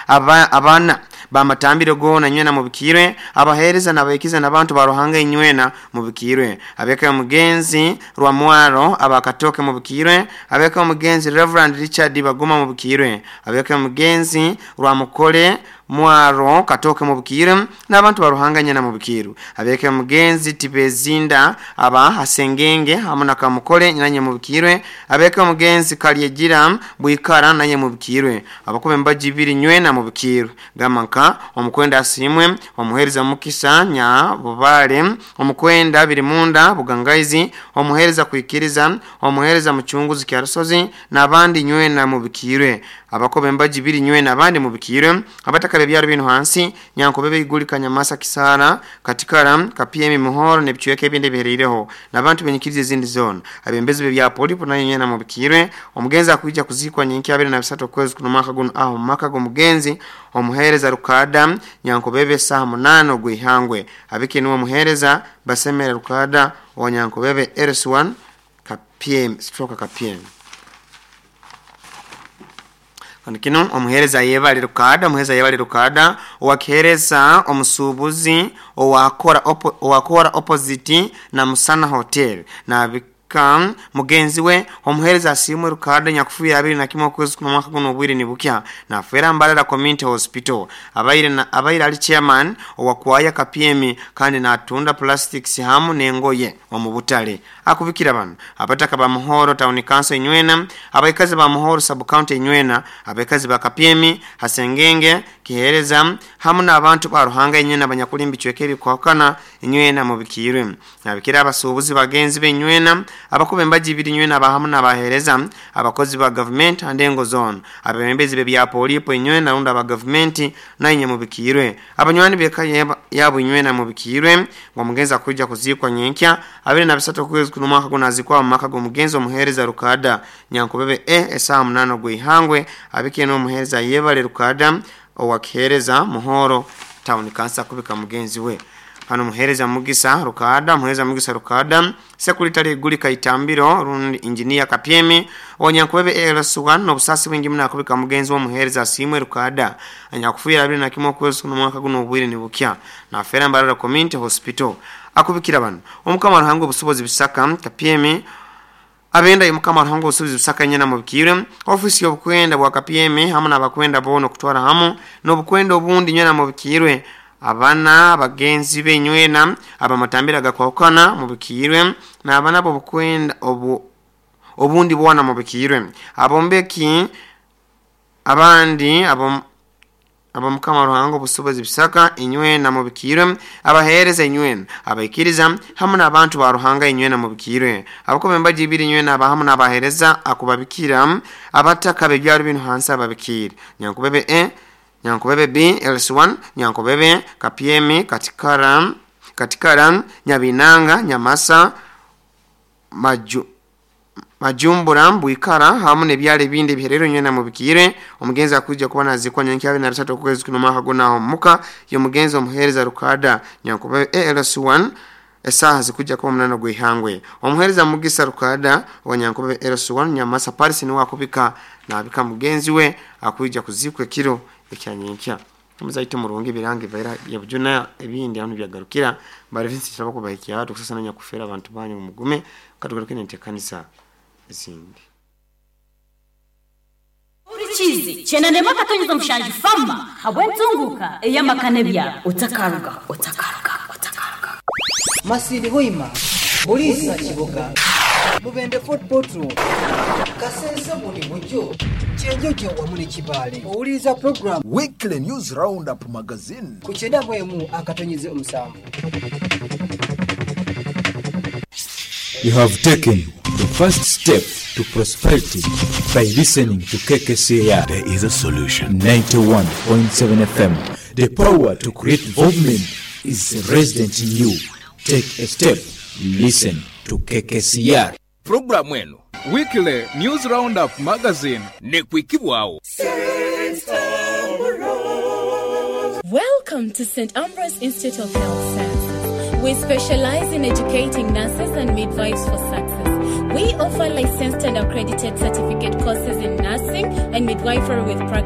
Abaana b'amatambiro goona inywena mubikirwe, abaheereza n'abaikiza n'abantu ba Ruhanga inywena mubikirwe. Ab'eka y'omugenzi Rwamwaro aba Katooke mubikirwe, ab'eka y'omugenzi Rev. Richard Baguma mubikirwe, ab'eka y'omugenzi Rwamukore Mwaro Katooke mubikirwe, n'abantu ba Ruhanga inywena mubikirwe. Ab'eka y'omugenzi Tibezinda aba Hasengenge hamu na Kamukore nanye mubikirwe, ab'eka y'omugenzi Kalyegira Bwikara nanye mubikirwe. Abakuba embaji ibiri inywena mubikirwe. Gamba nka omukwenda Asiimwe, omuheereza Mukisa Nyabubale, omukwenda Birimunda Bugangaizi, omuheereza Kwikiriza, omuheereza Mucunguzi Kyarusozi, n'abandi inywena mubikirwe. Abakuba embaji ibiri inywena abandi mubikirwe. Abataka b'ebyaro binu hansi, Nyankobebe Iguli Kanyamasa Kisara, Katikara, Kapyemi Muhoro n'ebicweka ebindi ebihereireho, n'abantu b'enyikiriza ezindi zoona. Abembezi b'ebya Polipo nayo inywena mubikirwe. Omugenzi akwija kuziikwa nyenkya 23 okwezi kuno omwaka gunu aho mu maka g'omugenzi omuheereza Rukada Nyankobebe saaha 8 ogw'ihangwe. Abike niwe omuheereza Basemere Rukada owa Nyankobebe LC1 Kapyemi stroke Kapyemi. Kandi kinu omuheereza Yebale Rukada, omuheereza Yebale Rukada owakiheereza omusuubuzi owakora opposite na Musana Hotel. Nabika mugenzi we omuheereza Asiimwe Rukada nyakufiire 21 okwezi kuno omwaka guno obwire nibukya. Nafeera Mbarara Community Hospital. Abaire ali chairman owakwaya Kapyemi kandi natunda plastics hamu n'engoye omu butale. Akubikira bano abataka ba Muhoro Town Council inywena, abaikazi ba Muhoro Sub County inywena, abaikazi ba Kapyemi, Hasengenge, Kihereza hamu n'abantu ba Ruhanga inywena abanyakuli mbicweka ebikwakana inywena mubikirwe. Nabikira abasuubuzi bagenzi b'inywena, abakuba embaji ibiri inywena abahamu n'abaheereza, abakozi ba government andengo zone, abebembezi b'ebya Polipo inywena rundi aba government nainye mubikirwe. Abanywani b'eka yabo inywena mubikirwe ngo omugenzi akwija kuziikwa nyenkya 23 okwezi kuno omwaka guno azikwa mu maka g'omugenzi omuheereza Rukada Nyankobebe esaaha 8 ogw'ihangwe. Abike n'omuheereza Yebale Rukada owakiheereza Muhoro Town Council kubika mugenzi we. Hano muheereza Mugisa Rukada, muheereza Mugisa Rukada, Sekuritale Iguli Kaitambiro rundi Engineer Kapyemi Onyankobebe LC1 n'obusasi bwingi muno akubika mugenzi w'omuheereza Asiimwe Rukada anyakufiira 21 okwezi kuno omwaka guno obwire nibukya. Nafeera Mbarara Community Hospital. Akubikira bano Omukama Ruhanga obusobozi Bisaka Kapyemi abenda Omukama Ruhanga obusobozi Bisaka nyena mubikirwe. Ofisi y'obukwenda bwa Kapyemi hamu n'abakwenda boona okutwara hamu n'obukwenda obundi nywena mubikirwe. Abana bagenzi b'enywena abamatambira agakwahukana mubikirwe n'abana b'obukwenda obundi bwana mubikirwe. Abombeki abandi Abamukama Ruhanga obusobozi Bisaka inywena mubikirwe, abaheereza inywena, abaikiriza hamu n'abantu ba Ruhanga inywena mubikirwe. Abakuba embaji ibiri inywena abahamu n'abaheereza akubabikira abataka b'ebyaro binu hansi ababikire. Nyankobebe E, Nyankobebe B, LC1, Nyankobebe, Kapyemi, Katikara, Nyabinanga, Nyamasa, Majumbura, Bwikara hamu n'ebyaro ebindi ebiherero inywena mubikire. Omugenzi akwija kuba nazikwa nyenkya 23 okwezi kuno omwaka guno aho muka y'omugenzi omuheereza Rukada Nyankobebe LC1 esaaha zikujja kuba 8 ogw'ihangwe. Omuheereza Mugisa Rukada wa Nyankobebe LC1 Nyamasa Paris niwe akubika nabika mugenzi we akwija kuzikwa ekiro ekya nyenkya. Muzaito murungi birangi vaira ya bujuna ebindi hano byagarukira bari vinsi kiraba kubahikia tukusasa nyakufera abantu banyu mugume katugaruke n'entekanisa ezindi. Urikizi chenande makatonyeza mushanju fama habwentunguka eyamakane bya otakaruga otakaruga otakaruga. Masindi Hoima, Bulisa Kiboga, Mubende Fort Portal, Kasese buli bujo, Kyenjojo wamu ne Kibaale. Owuliriza program Weekly News Roundup Magazine ku 91.7. You have taken the first step to prosperity by listening to KKCR. There is a solution. 91.7 FM. The power to create development is resident in you. Take a step. Listen to KKCR. Programu eno Weekly News Roundup Magazine nekwikibwawo. Welcome to St. Ambrose Institute of Health Sciences. We specialize in educating nurses and midwives for success. We offer licensed and accredited certificate courses in nursing and midwifery with practice.